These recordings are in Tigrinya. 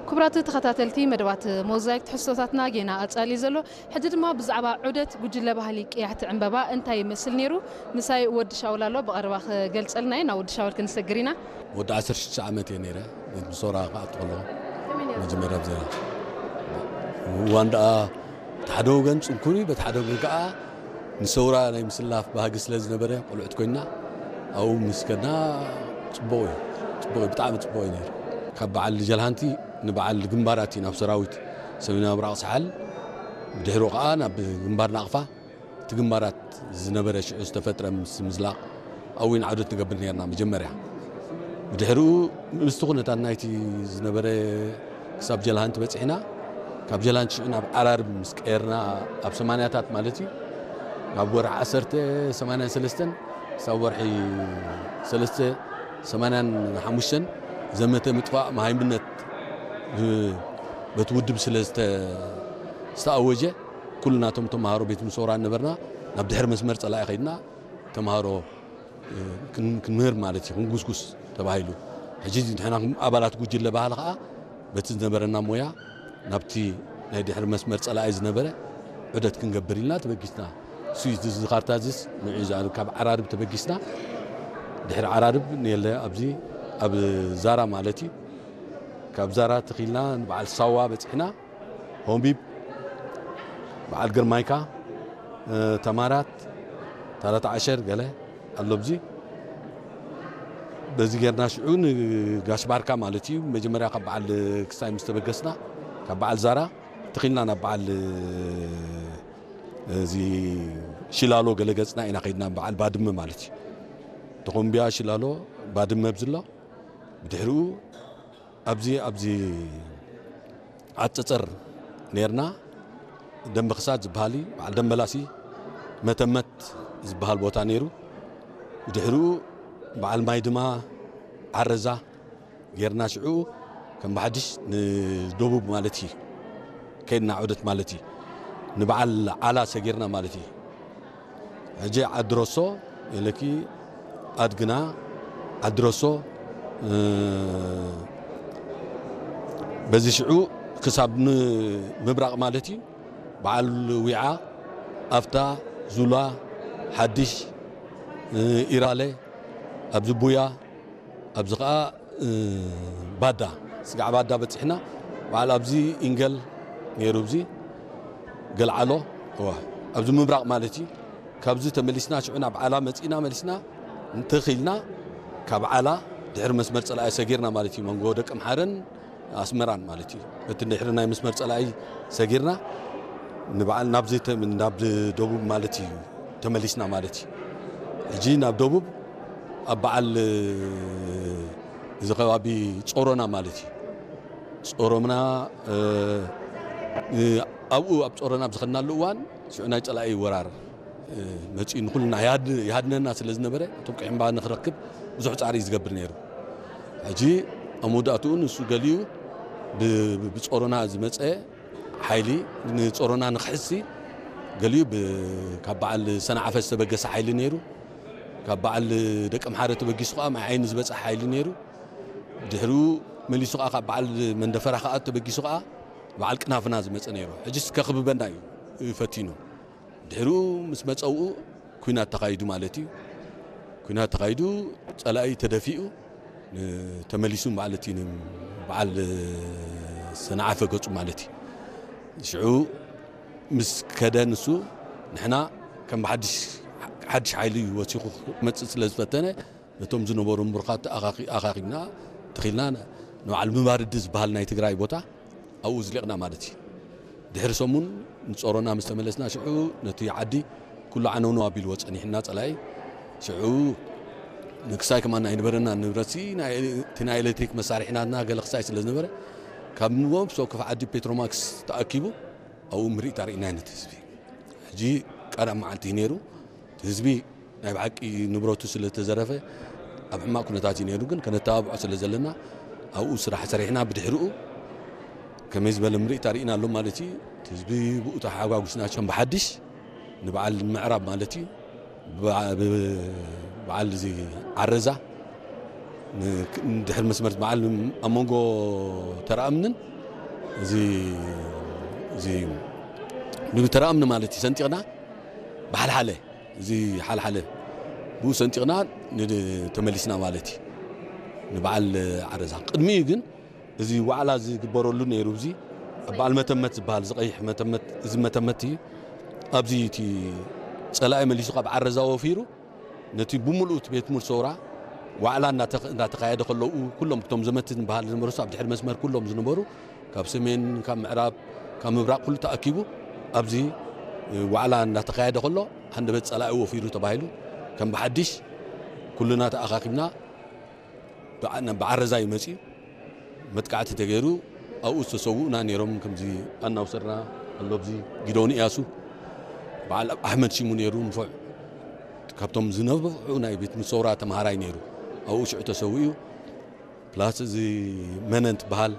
ክቡራት ተኸታተልቲ መደባት ሞዛይክ ትሕዝቶታትና ጌና ኣጻሊ ዘሎ። ሕጂ ድማ ብዛዕባ ዑደት ጉጅለ ባህሊ ቅያሕቲ ዕምበባ እንታይ ይመስል ነይሩ? ምሳይ ወዲ ሻውል ኣሎ፣ ብቐረባ ክገልጸልና እዩ። ናብ ወዲ ሻውል ክንሰግር ኢና። ወዲ ዓሰርተ ሽዱሽተ ዓመት እየ ነይረ፣ ምስ ሶራ ክኣቱ ከለኹ። መጀመርያ ብዜና እዋን ደኣ፣ በቲ ሓደ ወገን ጽንኩር እዩ፣ በቲ ሓደ ወገን ከኣ ንሰውራ ናይ ምስላፍ ባህጊ ስለ ዝነበረ፣ ቆልዑት ኮይና ኣብኡ ምስ ከድና ጽቡቕ እዩ። ጽቡቕ እዩ፣ ብጣዕሚ ጽቡቕ እዩ ነይሩ። ካብ በዓል ጀልሃንቲ ንበዓል ግንባራት እዩ፣ ናብ ሰራዊት ሰሜናዊ ምብራቕ ሳሕል፣ ብድሕሪኡ ከኣ ናብ ግንባር ናቕፋ፣ እቲ ግንባራት ዝነበረ ሽዑ ዝተፈጥረ ምስ ምዝላቕ ኣብኡ ኢና ዑደት ንገብር ነርና መጀመርያ። ብድሕሪኡ ምስቲ ኩነታት ናይቲ ዝነበረ ክሳብ ጀልሃንቲ በጺሕና፣ ካብ ጀልሃንቲ ሽዑ ናብ ዓራርብ ምስ ቀየርና፣ ኣብ ሰማንያታት ማለት እዩ፣ ካብ ወርሒ ዓሰርተ ሰማንያን ሰለስተን ክሳብ ወርሒ ሰለስተ ሰማንያን ሓሙሽተን ዘመተ ምጥፋእ መሃይምነት ብ-፣ በቲ ውድብ ስለ ዝተ-፣ ዝተኣወጀ፣ ኩልና እቶም ተምሃሮ ቤት ምሶራ ነበርና፣ ናብ ድሕሪ መስመር ጸላኢ ኸይድና ተምሃሮ፣ እ፣ ክን-፣ ክንምህር ማለት እዩ፣ ክንጉስጉስ ተባሂሉ። ሕጂ ንሕና ኣባላት ጉጅለ ባህሊ ኸኣ በቲ ዝነበረና ሞያ ናብቲ ናይ ድሕሪ መስመር ጸላኢ ዝነበረ ዑደት ክንገብር ኢልና ተበጊስና። እሱ እዩ እዚ ካርታ እዚስ ንዑ እዩ ዝኣሉ። ካብ ዓራርብ ተበጊስና፣ ድሕሪ ዓራርብ ንየለ ኣብዚ ኣብ ዛራ ማለት እዩ። ካብ ዛራ ተኺልና ንበዓል ሳዋ በጺሕና። ሆምቢብ፣ በዓል ግርማይካ፣ እ፣ ተማራት፣ ታላት ዓሸር ገለ ኣሎ ኣብዚ። በዚ ጌርና ሽዑ ንጋሽ ባርካ ማለት እዩ። መጀመርያ ካብ በዓል ክሳይ ምስ ተበገስና፣ ካብ በዓል ዛራ ተኺልና ናብ በዓል እዚ ሽላሎ ገለ ገጽና ኢና ከይድና፣ በዓል ባድመ ማለት እዩ። ተኾምቢያ፣ ሽላሎ፣ ባድመ ኣብዚ ኣሎ። ብድሕሪኡ ኣብዚ፣ ኣብዚ ዓጸጸር ኔርና፣ ደንበ ክሳድ ዝበሃል እዩ፣ በዓል ደንበላሲ መተመት ዝበሃል ቦታ ነይሩ። ብድሕሪኡ በዓል ማይ ድማ ዓረዛ ጌርና፣ ሽዑ ከም ብሓድሽ ንደቡብ ማለት እዩ ከይድና ዑደት ማለት እዩ። ንበዓል ዓላ ሰጊርና ማለት እዩ። ሕጂ ዓዲ ረሶ ኢለኪ፣ ኣድግና፣ ዓዲ ረሶ፣ እ፣ በዚ ሽዑ ክሳብ ን-፣ ምብራቕ ማለት እዩ። በዓል ዊዓ፣ ኣፍታ፣ ዙላ፣ ሓድሽ፣ እ፣ ኢራለ፣ ኣብዚ ቡያ፣ ኣብዚ ኸኣ፣ እ፣ ባዳ፣ ስጋዕ ባዳ በጺሕና። በዓል ኣብዚ ኢንገል ነይሩ፣ ኣብዚ ገልዓሎ፣ እዋ፣ ኣብዚ ምብራቕ ማለት እዩ። ካብዚ ተመሊስና፣ ሽዑ ናብ ዓላ መጺእና፣ መሊስና እንተኺልና፣ ካብ ዓላ ድሕሪ መስመር ጸላኢ ሰጊርና ማለት እዩ። መንጎ ደቂ ኣምሓረን ኣስመራን ማለት እዩ። እቲ ድሕሪ ናይ መስመር ጸላኢ ሰጊርና፣ ንበዓል ናብዚ ተ-፣ ናብ ደቡብ ማለት እዩ ተመሊስና ማለት እዩ። ሕጂ ናብ ደቡብ ኣብ በዓል እዚ ከባቢ ጾሮና ማለት እዩ። ጾሮና፣ እ፣ እ፣ ኣብኡ ኣብ ጾሮና ኣብ ዝኸድናሉ እዋን ሽዑ ናይ ጸላኢ ወራር፣ እ፣ መጺኡ ንኹልና ይሃድ-፣ ይሃድነና ስለ ዝነበረ፣ እቶም ቅዒምባ ንኽረክብ ብዙሕ ጻዕሪ እዩ ዝገብር ነይሩ። ሕጂ ኣብ መወዳእትኡ ንሱ ገሊኡ ብ-፣ ብ-፣ ብጾሮና ዝመጸ ሓይሊ ንጾሮና ንኽሕሲ ገሊኡ ብ-፣ ካብ በዓል ሰንዓፈ ዝተበገሰ ሓይሊ ነይሩ። ካብ በዓል ደቂ ኣምሓረ ተበጊሱ ኸኣ ማይ ዓይኒ ዝበጽሐ ሓይሊ ነይሩ። ድሕሪኡ መሊሱ ኸኣ ካብ በዓል መንደፈራ ኸኣ ተበጊሱ ኸኣ በዓል ቅናፍና ዝመጸ ነይሩ። ሕጂስ ከኽብበና እዩ ፈቲኑ። ድሕሪኡ ምስ መጸ ኣብኡ ኲናት ተኻይዱ ማለት እዩ። ኲናት ተኻይዱ፣ ጸላኢ ተደፊኡ፣ ን-፣ ተመሊሱ ማለት እዩ፣ ን-፣ በዓል ሰንዓፈ ገጹ ማለት እዩ። ሽዑ ምስ ከደ ንሱ፣ ንሕና ከም ብሓድሽ፣ ሓድሽ ሓይሊ እዩ ወሲኹ ክመጽእ ስለ ዝፈተነ፣ ነቶም ዝነበሩ ምሩኻት ኣኻኺ-፣ ኣኻኺብና፣ ተኺልና፣ ንበዓል ምባርዲ ዝበሃል ናይ ትግራይ ቦታ ኣብኡ ዝሊቕና ማለት እዩ። ድሕሪ ሰሙን ንጾሮና ምስ ተመለስና፣ ሽዑ ነቲ ዓዲ ኩሉ ዓነውነው ኣቢልዎ ጸኒሕና ጸላኢ። ሽዑ ንክሳይ ከማን ኣይነበረና ንብረትሲ፣ ናይ፣ እቲ ናይ ኤሌክትሪክ መሳርሒናትና ገለ ክሳይ ስለ ዝነበረ፣ ካብ ንቦም ሰው ክፍ ዓዲ ፔትሮማክስ ተኣኪቡ፣ ኣብኡ ምርኢት ኣርኢና ነቲ ህዝቢ። ሕጂ ቀዳም መዓልቲ እዩ ነይሩ። እቲ ህዝቢ ናይ ብሓቂ ንብረቱ ስለ ዝተዘረፈ ኣብ ሕማቕ ኩነታት እዩ ነይሩ፣ ግን ከነተባብዖ ስለ ዘለና ኣብኡ ስራሕ ሰሪሕና ብድሕሪኡ ከመይ ዝበለ ምርኢት ኣርኢና ኣሎ ማለት እዩ። እቲ ህዝቢ ብኡ ተሓጓጉስና ከም ብሓድሽ ንበዓል ምዕራብ ማለት እዩ። ብዓ-፣ ብ-፣ በዓል እዚ ዓረዛ ን-፣ ድሕሪ መስመር በዓል ኣብ መንጎ ተራእምንን እዚ እዚ ብተራ እምኒ ማለት እዩ ሰንጢቕና ብሓልሓለ እዚ ሓልሓለ ብኡ ሰንጢቕና ንድ- ተመሊስና ማለት እዩ። ንበዓል ዓረዛ ቅድሚኡ ግን እዚ ዋዕላ ዝግበረሉ ነይሩ። እዚ ኣብ በዓል መተመት ዝበሃል ዝቐይሕ መተመት እዚ መተመት እዩ። ኣብዚ እቲ ጸላኢ መሊሱ ካብ ዓረዛ ወፊሩ ነቲ ብምሉእ እቲ ቤት ትምህርቲ ሰውራ ዋዕላ እናተኸ- እናተኻየደ ከለዉ ኩሎም እቶም ዘመቲ ዝበሃል ዝነበሩ ኣብ ድሕሪ መስመር ኩሎም ዝነበሩ ካብ ሰሜን ካብ ምዕራብ ካብ ምብራቕ ኩሉ ተኣኪቡ ኣብዚ ዋዕላ እናተኻየደ ከሎ ሃንደበት ጸላኢ ወፊሩ ተባሂሉ ከም ብሓድሽ ኩልና ተኣኻኺብና ብዓ- ናብ ብዓረዛ እዩ መጺኡ። መጥቃዕቲ ተገይሩ ኣብኡ ዝተሰውኡና ነይሮም። ከምዚ ኣናውሰርና ኣሎ ኣብዚ ጊደውን እያሱ በዓል ኣሕመድ ሽሙ ነይሩ ንፉዕ ካብቶም ዝነብሑ ናይ ቤት ምሰውራ ተምሃራይ ነይሩ ኣብኡ ሽዑ ተሰዊኡ። ፕላስ እዚ መነን ትበሃል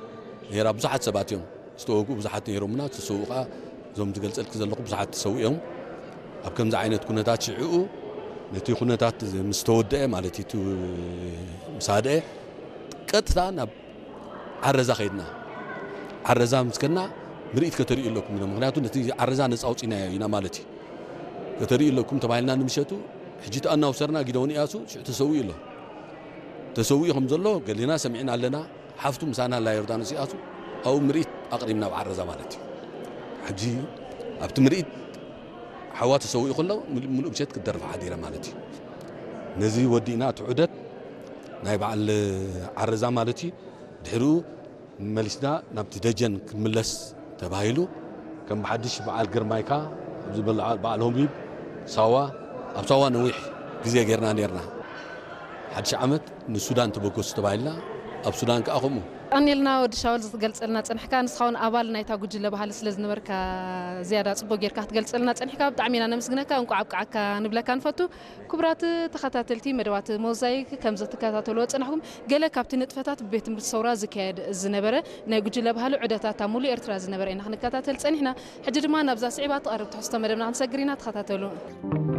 ነይራ ብዙሓት ሰባት እዮም ዝተወግኡ ብዙሓት ነይሮምና ዝተሰውኡ ከዓ እዞም ዝገልፀልክ ዘለኹ ብዙሓት ተሰዊኦም። ኣብ ከምዚ ዓይነት ኩነታት ሽዕኡ ነቲ ኩነታት ምስ ተወደአ ማለት እዩ ምስ ሃደአ ቀጥታ ናብ ዓረዛ ከይድና። ዓረዛ ምስ ከድና ምርኢት ከተርእዩ ኣለኩም ኢና ምክንያቱ ነቲ ዓረዛ ነፃ ኣውፂናዮ ኢና ማለት እዩ። ከተርእዩ ኣለኩም ተባሂልና ንምሸቱ ሕጂ ተኣናውሰርና ጊደውን እያሱ ሽዑ ተሰዊኡ ኣሎ። ተሰዊኡ ከም ዘሎ ገሊና ሰሚዕና ኣለና። ሓፍቱ ምሳና ኣላ ዮርዳኖስ ይኣሱ ኣብኡ ምርኢት ኣቕሪብና ኣብ ዓረዛ ማለት እዩ። ሕጂ ኣብቲ ምርኢት ሓዋ ተሰዊኡ ከሎ ምሉእ ምሸት ክትደርፍ ሓዲረ ማለት እዩ። ነዚ ወዲእና እቲ ዑደት ናይ በዓል ዓረዛ ማለት እዩ። ድሕሪኡ መሊስና ናብቲ ደጀን ክንምለስ ተባሂሉ ከም ብሓድሽ በዓል ግርማይካ ኣብዚ በዓል ሆሚብ ሳዋ ኣብ ሳዋ ነዊሕ ግዜ ጌርና ኔርና። ሓድሽ ዓመት ንሱዳን ተበገሱ ተባሂልና ኣብ ሱዳን ከዓ ከምኡ። ቀኒልና ወዲ ሻውል ዝገልጸልና ጸንሕካ ንስኻ እውን ኣባል ናይታ ጉጅለ ባህሊ ስለ ዝነበርካ ዝያዳ ጽቡቅ ጌርካ ክትገልጸልና ጸንሕካ ብጣዕሚ ኢና ነመስግነካ እንቋዕ ኣብቃዓካ ንብለካ ንፈቱ። ክቡራት ተኸታተልቲ መደባት ሞዛይክ ከም ዘትከታተልዎ ጸናሕኩም ገለ ካብቲ ንጥፈታት ብቤት ትምህርቲ ሰውራ ዝካየድ ዝነበረ ናይ ጉጅለ ባህሊ ዑደታት ኣብ ሙሉእ ኤርትራ ዝነበረ ኢና ክንከታተል ጸኒሕና። ሕጂ ድማ ናብዛ ስዒባ ትቐርብ ትሕዝቶ መደብና ክንሰግር ኢና ተኸታተሉ።